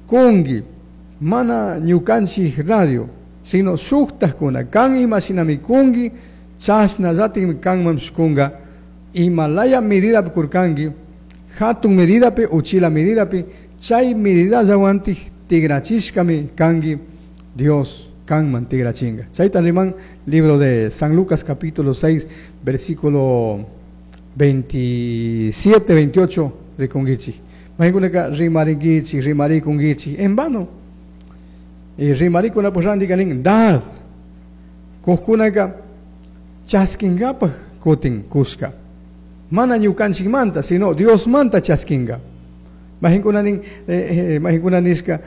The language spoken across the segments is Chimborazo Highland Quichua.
Kungui, mana ñukanchik radio, sino shuktakuna, kan ima shinami kungui, chashnallatikmi kanmanpish kunga, imalaya medidapi kurkanki, hatun medidapi, uchila medidapi, chay medidallawantik tigrachishkami kanki, Dios kanman tigrachinga. Chayta riman libro de San Lucas capítulo 6, versículo 27, 28 rikunkichik. Maykunaka rimarinkichik, rimarikunkichik, en vano. Y rimarikunapak rantika nin, dad. Kujkunaka chaskingapak kutin kushka. Mana ñukanchikmanta, sino Diosmanta chaskinga. Majinkuna nin, majinkuna nishka,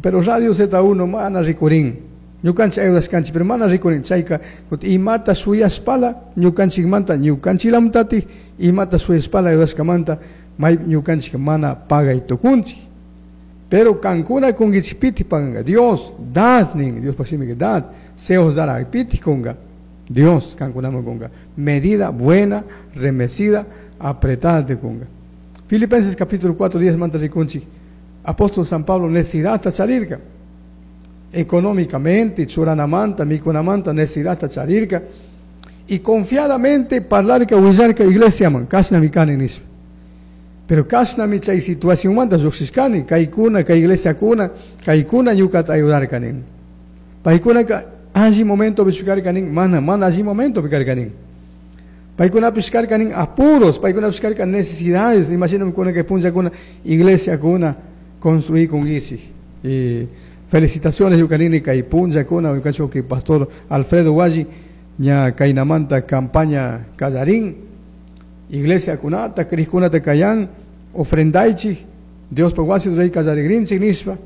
pero Radio Z1 mana rikurin. Ñukanchik ayudashkanchik, pero mana rikurin. Chayka, kutin imata shuyashpala ñukanchikmanta, ñukanchiklamtatik, imata shuyashpala ayudashkamanta, may ñukanchik mana pagay tukunchik. Pero kankuna kunkichik piti paganga. Dios, dad nin, Dios shimika dad, se os dará, piti kunga. Dios kankunaman kunga. Medida buena, remecida, apretada te kunga. Filipenses capítulo 4, 10 manta rikunchik. Apóstol San Pablo necesidad charirka. Económicamente, churanamanta, mikunamanta, necesidad charirka. Y confiadamente parlarka, willarka iglesia man, kashnami kani nishpa. Pero kashnami chay situación manta lluqshishkani, kaykuna, kay iglesia kuna, kaykuna ñukata ayudarka nin. Paykunaka alli momento karka nin, mana, mana alli momento karka nin. Paykunapish karka nin apuros, paykunapish karka necesidades. Imagíname kuna que punlla kuna iglesia kuna construir con guichi. Y felicitaciones ñukanini kay punlla kuna, ñukanchik que pastor Alfredo Guayi, ña kaynamanta campaña kallarín, iglesia kunata, krishkunata kayan, ofrendaichi, Dios wasi rey kallarigrinchik nishpa.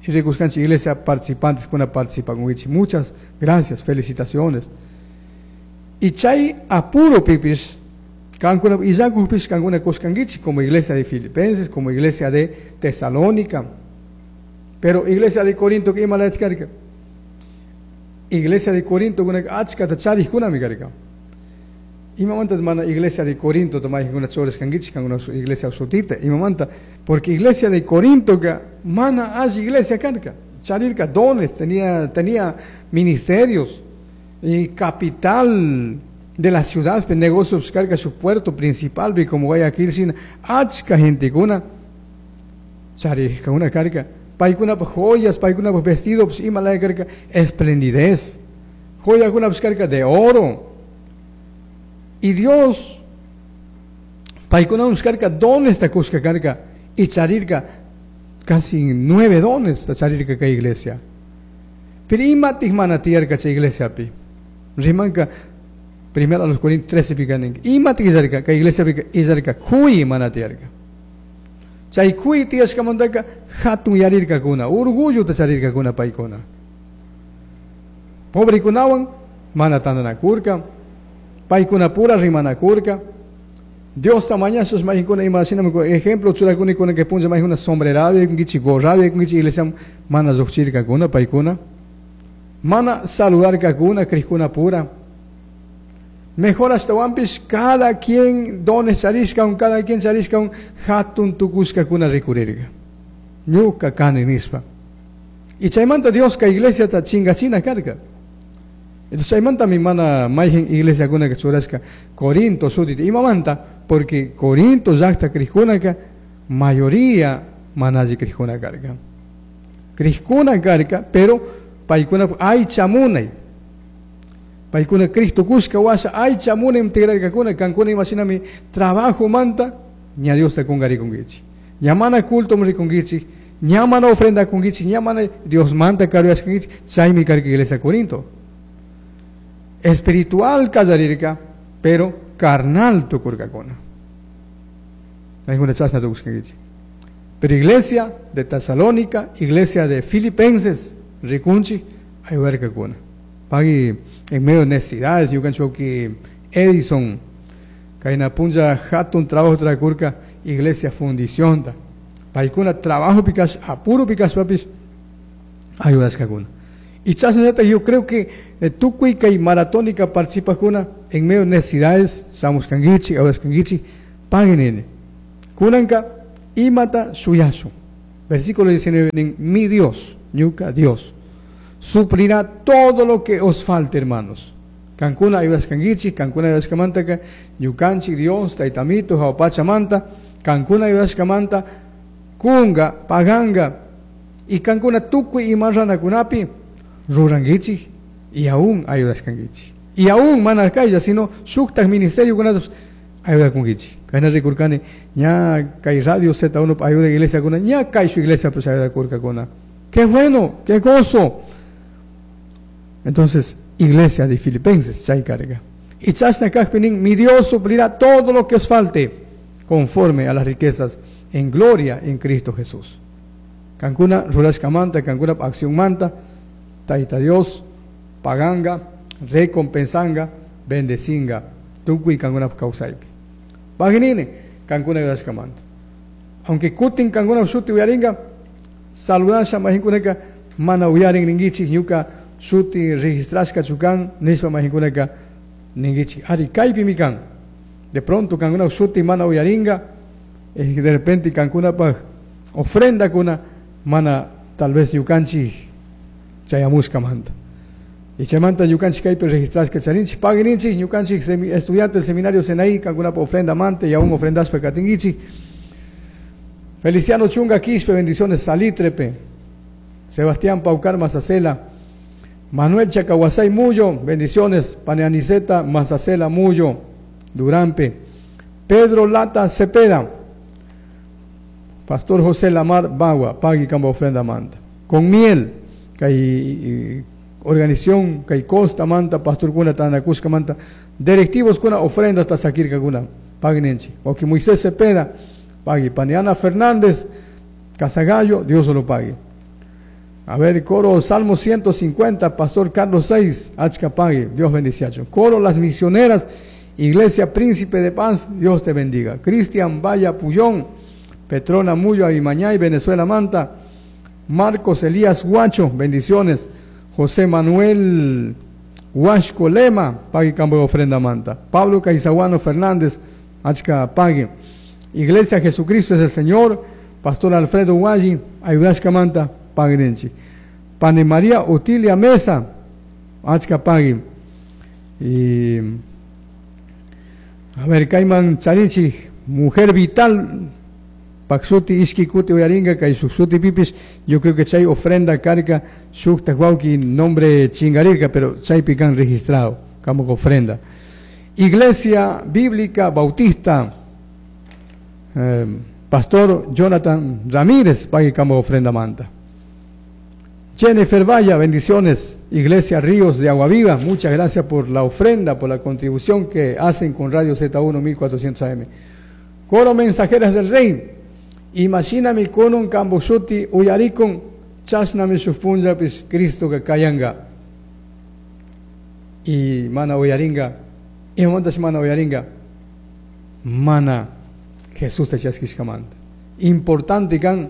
Y rikuskanchik iglesia participantes kuna participan con guichi. Muchas gracias, felicitaciones. Y chay apuro pipis, kankuna, y yakupis kankuna kuskangichi, como iglesia de Filipenses, como iglesia de Tesalónica. Pero iglesia de Corinto, que ima la karka? Iglesia de Corinto, kuna achka ta charij kuna mi karka. Imamanta mana iglesia de Corinto, toma kuna chores kangichi, kankuna su iglesia sutita. Imamanta, porque iglesia de Corinto, ka, mana hay iglesia karka. Charirka dones, tenía ministerios. Y capital de la ciudad, pues, negocios carga su puerto principal, vi como Guayaquil, sin achka gente kuna, charirka una carga, paikuna pues, joyas, paikuna pues, vestidos, pues, ima la carga, esplendidez, joya kuna pues, carga de oro. Y Dios, paikuna pues, carga dones ta cusca carga, y charirka casi 9 dones ta charirka ka iglesia. Pero ima tihmana tiyarka cha iglesia pi. Rimanka, primero a los Corintios 13 picanen. Ima tiyarka, ka iglesia pi, iyarka, kui mana tiyarka. Chay kui tiyashka mandaka, hatun yarirka kuna, orgullo ta charirka kuna paikuna. Pobre kunawan, mana tandanakurka, paikuna pura rimanakurka. Dios tamañazos majinkuna ima shinami ejemplo churakuni kuna que punlla majuna sombrerabi, kungichi gorrabi, kungichi iglesia mana lluqchirka kuna paikuna. Mana saludarka kuna, krishkuna pura. Mejor hasta wampis, cada quien dones charishka un, cada quien charishka un, hatun tukushka kuna rikurirka. Ñuka kani nispa. Y chaymanta Dios ka iglesia ta chingachina karka. Entonces chaymanta mi mana mayhen iglesia kuna que churashka Corinto sutita. Imamanta, porque Corinto llaqta krishkunaka mayoría manayi krishkuna karka. Krishkuna karka, pero paykuna aycha munay. Paykuna Cristo kushka washa aycha munay integrarkakuna, kankuna imashinami trabajo manta, ña Dios ta kungarikunkichik. Ña mana culto rikunkichik, ña mana ofrenda kunkichik, ña mana Dios manta karuyashkankichik, chaymi karka iglesia Corinto. Espiritual kallarirka, pero carnal tukurkakuna. Paykuna chashna tukushkankichik. Pero iglesia de Tesalónica, iglesia de Filipenses, rikunchik, ayudarkakuna. Pagui en medio de necesidades, yo cancho que Edison, kaina punja hatun trabajo trakurka, iglesia fundición ta. Paikuna trabajo pikas, apuro pikas papis, ayudaskakuna. Y chasnata, yo creo que tukuy kay maratónica participa kuna en medio de necesidades, samos kangichi, ayudas kangichi, paguen ene. Kunanka imata suyasu. Versículo 19, mi Dios, ñuca Dios, suplirá todo lo que os falte, hermanos. Kankuna ayudashkankichik, kankuna ayudashkamantaka, ñukanchik Dios, taytamito, jahua pachamanta, kankuna ayudashkamanta, kunga, paganga, y kankuna tukuy ima ranakunapi rurankichik, y aún ayudashkankichik. Y aún mana kaylla, sino shuktak ministerio kunatas ayudakunkichik. Kayna rikurkani, ña kay radio Z1 ayuda iglesia kuna, ña kay shu iglesia pues ayudakurkakuna. ¡Qué bueno! ¡Qué gozo! Entonces, iglesia de Filipenses, chay karka. Y chashna kajpi mi Dios suplirá todo lo que os falte, conforme a las riquezas en gloria en Cristo Jesús. Kankuna rurashkamanta, kankuna acción manta, Taita Dios, paganga, recompensanga, bendecinga, tukuy kankuna kawsaypi. Paginini, kankuna rurashkamanta. Aunque kutin kankuna shuti uyaringa, saludasha mahinkunaka, mana uyarin ningichik, ñuka shuti registrashka chukan, nishpa mahinkunaka ningichik. Ari kaypimi kan. De pronto kankuna shuti mana uyaringa, de repente kankunapaj ofrenda kuna, mana tal vez ñukanchik chayamushkamanta. Y chaymanta ñukanchik kaypi registrashka charinchik, pagininchik, ñukanchik estudiante del seminario Senaí, kankunapa ofrenda manta y aún ofrendashpa katinkichik. Feliciano Chunga Quispe, bendiciones, Salitrepe. Sebastián Paucar Mazacela. Manuel Chacahuasay Muyo, bendiciones, Paneaniceta Mazacela Muyo, Durampe. Pedro Lata Cepeda. Pastor José Lamar Bagua, pagui kamba ofrenda manta. Con miel, kay organización, kay costa manta, pastor kuna tanakushka manta, directivos kuna ofrenda hasta sakirka kuna, paginenchi. O que Moisés Cepeda, pagui. Paniana Fernández, Casagallo, Dios lo pague. A ver, coro Salmo 150, Pastor Carlos 6, Achka pague, Dios bendice. Coro Las Misioneras, Iglesia Príncipe de Paz, Dios te bendiga. Cristian Valla Puyón, Petrona Muyo Abimañay, Venezuela Manta. Marcos Elías Guacho, bendiciones. José Manuel Huasco Lema, pague campo de ofrenda manta. Pablo Caizaguano Fernández, Achka pague. Iglesia Jesucristo es el Señor, Pastor Alfredo Guayi, Ayudashka Manta, pague. Pane María Otilia Mesa, Achka pague. Y a ver, Cayman Charinchi, Mujer Vital, Paksuti, Ishki, Kuti, Uyaringa, Kay Suti, Pipis, yo creo que chay ofrenda karka, Shukta, Huauki, nombre chingarirka, pero chaypi kan registrado como ofrenda. Iglesia Bíblica Bautista, Pastor Jonathan Ramírez, pague como ofrenda manta. Jennifer Valla, bendiciones. Iglesia Ríos de Agua Viva, muchas gracias por la ofrenda, por la contribución que hacen con Radio Z1 1400 AM. Coro Mensajeras del Rey, Imashinami kunun kambushuti uyarikun, chashnami shuk punllapish Cristo kayanga. Y mana uyaringa, imamantash mana uyaringa, mana Jesús te chaskishkamanta. Importante kan,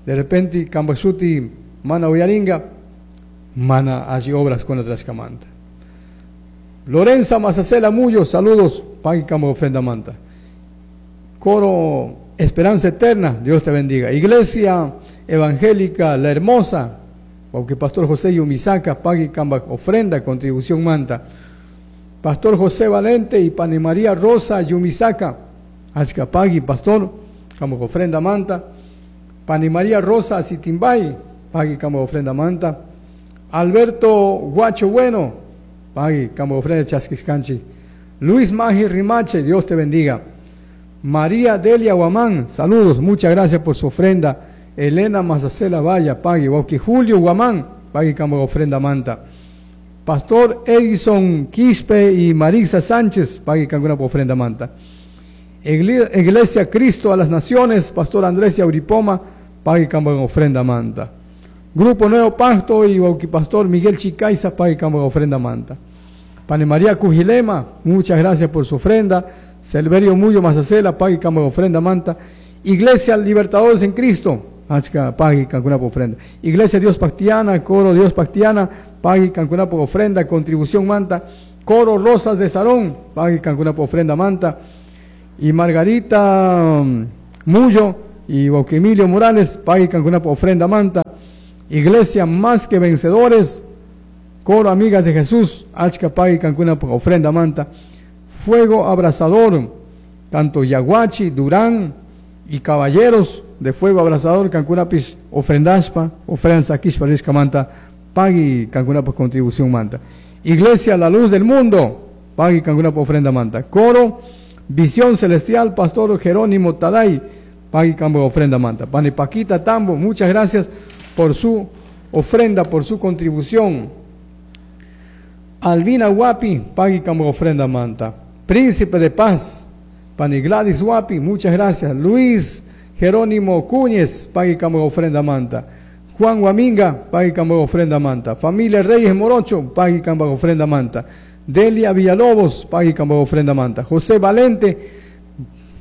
de repente kambashuti mana uyaringa, mana allí obras con otras camanta. Lorenza Mazacela Muyo, saludos, pagui kamba ofrenda manta. Coro Esperanza Eterna, Dios te bendiga. Iglesia Evangélica La Hermosa, aunque Pastor José Yumisaka, pague kamba ofrenda, contribución manta. Pastor José Valente y Pane María Rosa Yumisaka, Achka pagui, pastor, kamba ofrenda manta. Pane María Rosa Sitimbay, pagui kamba ofrenda manta. Alberto Guacho Bueno, pagui kamba ofrenda chaskiskanchi. Luis Magi Rimache, Dios te bendiga. María Delia Guamán, saludos, muchas gracias por su ofrenda. Elena Mazacela Valla, pague. Wauki Julio Guamán, pague kamba ofrenda manta. Pastor Edison Quispe y Marisa Sánchez, pague kamba ofrenda manta. Iglesia Cristo a las Naciones, Pastor Andrés Auripoma, pague kamba ofrenda manta. Grupo Nuevo Pacto y Wauki Pastor Miguel Chicaiza, pague kamba ofrenda manta. Pane María Cujilema, muchas gracias por su ofrenda. Selverio Muyo Mazacela, pague kamba ofrenda manta. Iglesia Libertadores en Cristo, Achka, pague kankuna ofrenda. Iglesia Dios Pactiana, Coro Dios Pactiana, pague kankuna ofrenda, contribución manta. Coro Rosas de Sarón, pague kankuna ofrenda manta. Y Margarita Muyo, Y wauki Emilio Morales, pagui kankunapa ofrenda manta. Iglesia Más que Vencedores, Coro Amigas de Jesús, achka pagui kankunapa ofrenda manta. Fuego Abrasador, tanto Yaguachi, Durán y Caballeros de Fuego Abrasador, kankunapis ofrendaspa, ofrenda sakishpa rishkamanta, pagui kankunapa contribución manta. Iglesia La Luz del Mundo, pagui kankunapa ofrenda manta. Coro Visión Celestial, Pastor Jerónimo Taday, pagui kampa ofrenda manta. Pani Paquita Tambo, muchas gracias por su ofrenda, por su contribución. Albina Guapi, pagui kampa ofrenda manta. Príncipe de Paz, Pani Gladys Guapi, muchas gracias. Luis Jerónimo Cúñez, pagui kampa ofrenda manta. Juan Guaminga, pagui kampa ofrenda manta. Familia Reyes Morocho, pagui kampa ofrenda manta. Delia Villalobos, pagui kampa ofrenda manta. José Valente,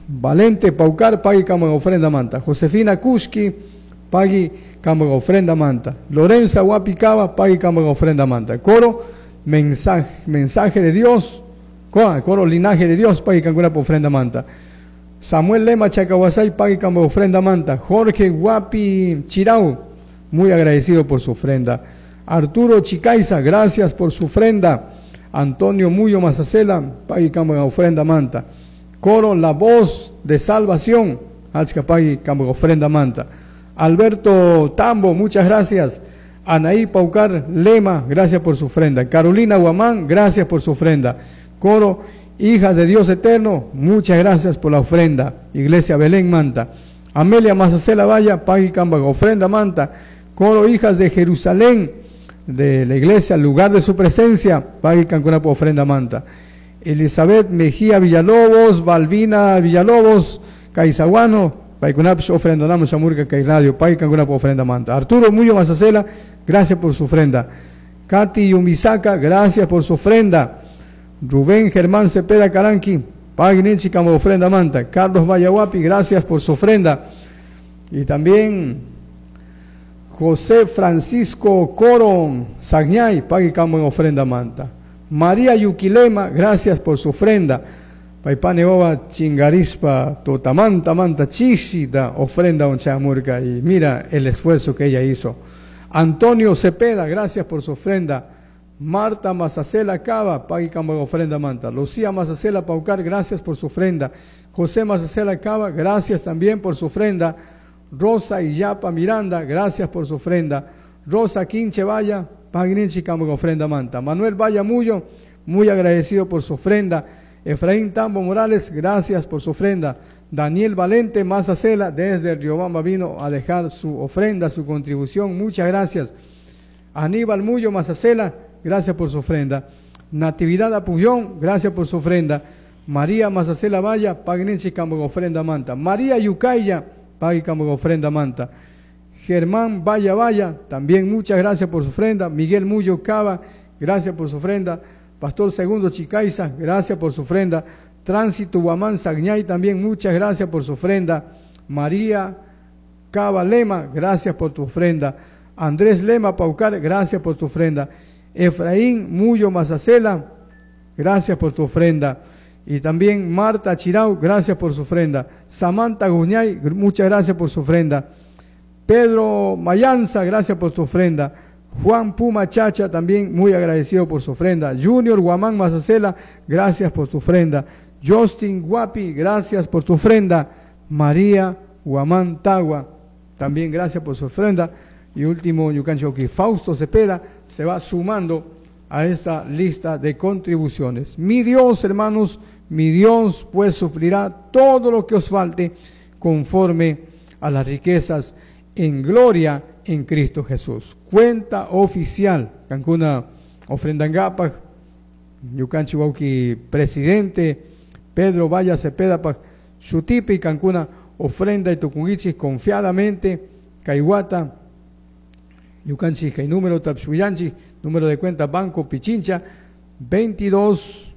Valente Paucar, pagui kampa ofrenda manta. Josefina Kuski, pagui kampa ofrenda manta. Lorenza Guapicaba, pagui kampa ofrenda manta. Coro, mensaje de Dios, coro linaje de Dios, pagui kankunapa ofrenda manta. Samuel Lema Chacahuasay, pagui kampa ofrenda manta. Jorge Guapi Chirau, muy agradecido por su ofrenda. Arturo Chicaiza, gracias por su ofrenda. Antonio Muyo Mazacela, pagui kampa ofrenda manta. Coro La Voz de Salvación, achka pagui kampa ofrenda manta. Alberto Tambo, muchas gracias. Anaí Paucar Lema, gracias por su ofrenda. Carolina Guamán, gracias por su ofrenda. Coro Hijas de Dios Eterno, muchas gracias por la ofrenda. Iglesia Belén Manta. Amelia Mazacela Valla, pagui kampa ofrenda manta. Coro Hijas de Jerusalén, de la iglesia, lugar de su presencia, pagui kankunapa ofrenda manta. Elizabeth Mejía Villalobos, Balbina Villalobos, Caizaguano, paykunapish ofrendanaman shamurka kay radio, pagui kankunapa ofrenda manta. Arturo Muyo Mazacela, gracias por su ofrenda. Katy Yumisaka, gracias por su ofrenda. Rubén Germán Cepeda Caranqui, pagui ninchik kampa ofrenda manta. Carlos Vallahuapi, gracias por su ofrenda. Y también José Francisco Coro Sagñay, pagui kampa ofrenda manta. María Yuquilema, gracias por su ofrenda. Paipane wawa chingarispa totamanta manta chishita ofrenda oncha murka. Y mira el esfuerzo que ella hizo. Antonio Cepeda, gracias por su ofrenda. Marta Mazacela Cava, pagui kampa ofrenda manta. Lucía Mazacela Paucar, gracias por su ofrenda. José Mazacela Cava, gracias también por su ofrenda. Rosa Illapa Miranda, gracias por su ofrenda. Rosa Quinche Valla, pagui ninchik kampa ofrenda manta. Manuel Valla Muyo, muy agradecido por su ofrenda. Efraín Tambo Morales, gracias por su ofrenda. Daniel Valente Mazacela, desde Riobamba vino a dejar su ofrenda, su contribución, muchas gracias. Aníbal Muyo Mazacela, gracias por su ofrenda. Natividad Apullón, gracias por su ofrenda. María Mazacela Valla, pagui ninchik kampa ofrenda manta. María Yucaya, pagui kampa ofrenda manta. Germán Valla Valla, también muchas gracias por su ofrenda. Miguel Muyo Cava, gracias por su ofrenda. Pastor Segundo Chicaiza, gracias por su ofrenda. Tránsito Guamán Sagñay, también muchas gracias por su ofrenda. María Cava Lema, gracias por tu ofrenda. Andrés Lema Paucar, gracias por tu ofrenda. Efraín Muyo Mazacela, gracias por tu ofrenda. Y también Marta Chirau, gracias por su ofrenda. Samantha Guñay, muchas gracias por su ofrenda. Pedro Mayanza, gracias por tu ofrenda. Juan Puma Chacha, también muy agradecido por su ofrenda. Junior Guamán Mazacela, gracias por tu ofrenda. Justin Guapi, gracias por tu ofrenda. María Guamán Tagua, también gracias por su ofrenda. Y último, ñukanchik Fausto Cepeda se va sumando a esta lista de contribuciones. Mi Dios, hermanos, mi Dios pues suplirá todo lo que os falte conforme a las riquezas en gloria en Cristo Jesús. Cuenta oficial, Kankuna ofrendangapaj, ñukanchik wawki presidente Pedro Valla Cepeda paj shutipi kankuna ofrenda y tukunguichis confiadamente, Kaiwata, ñukanchik kay número tapshuyanchik, número de cuenta Banco Pichincha, 22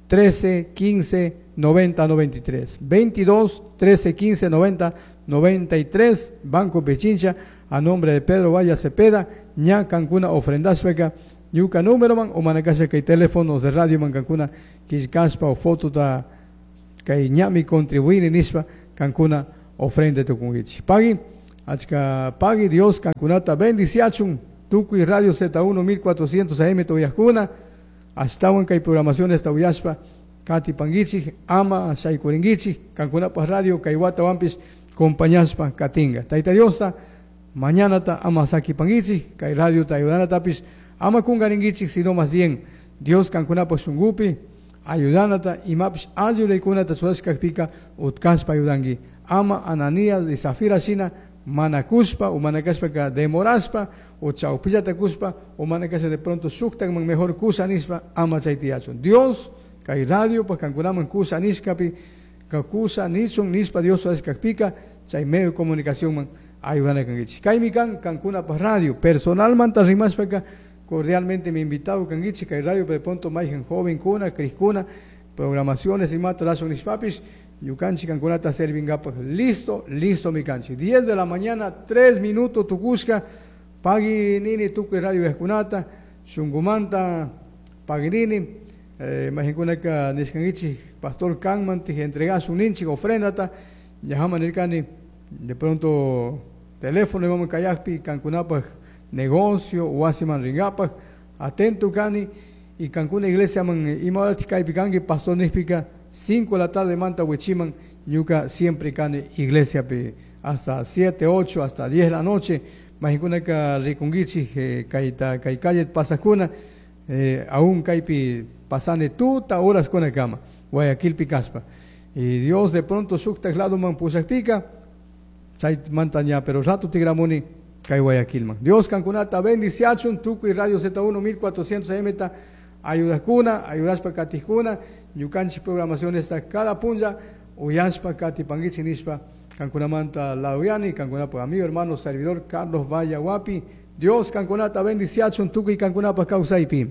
13 15 90 93. 22 13 15 90 93, Banco Pichincha, a nombre de Pedro Valla Cepeda, ña kankuna ofrendashpaka, ñuka número man, o manakasha kay teléfonos de radio man kankuna killkashpa o foto ta kay ñami contribuir nishpa kankuna Ofrenda tukunkichik. Pagui, achka pagui Dios kankunata bendiciachun, tukuy Radio Z1 1400 AM tuyajkuna, ashtawan kay programaciones tawiyashpa, katipankichik, ama shaykurinkichik, kankunapaj radio kay watawanpish compañashpa katinga. Tayta Diosta, mañanata ama sakipankichik, kay radiota ayudanatapish, ama kungarinkichik, sino más bien Dios kankunapaj shunkupi, ayudanata, imapish alli ruraykunata churashkakpika utkashpa ayudanki. Ama Ananías y Safira shina mana kushpa o mana kashpaka demorashpa o chawpillata kushpa o mana kasha de pronto shuktakman mejor kusha nishpa ama chay tiyachun. Dios kay radio pa kankunaman kusha nishkapi ka kusha nichun nishpa Dios churashkakpika chay medio de comunicación man ayudana kankichik. Kaymi kan kankunapaj radio personalmanta rimashpaka cordialmente me invitado kankichik kay radio de pronto mayjan joven kuna criskuna programaciones imata rashun nishpapish ñukanchik kankunata servingapak listo, listo mi kanchik. 10 de la mañana, 3 minutos tukushka, pagui nini tukuy radio yajkunata, shunkumanta pagui nini, mayjankunaka nishkankichik pastor kanman tij entregasun ninchik ofrendata, ñajaman nirkani de pronto teléfono imaman kayakpi kankunapaj negocio wasiman ringapak, atento kani y kankuna iglesia man ima horatik kaypi kanki pastor nishpika 5 de la tarde manta wichiman ñuka siempre kani iglesia pi hasta 7, 8, hasta 10 de la noche mayjankunaka rikunkichik, kayta kay calle pasakuna, aún kaypi pasani tuta horas kuna kama Guayaquilpi kaspa y Dios de pronto shuktak ladoman pushakpika chay manta ña pero rato tigramuni kay Guayaquilman. Dios kankunata bendiciachun tukuy Radio Z1 1400 AM ta ayudakuna, ayudashpa katijkuna, ñukanchik programación está cada punlla, uyashpa katipankichik nishpa kankunamanta lauyani, kankunapa amigo, hermano, servidor Carlos Vallahuapi. Dios kankunata bendiciachun tukuy kankunapa kawsaypi.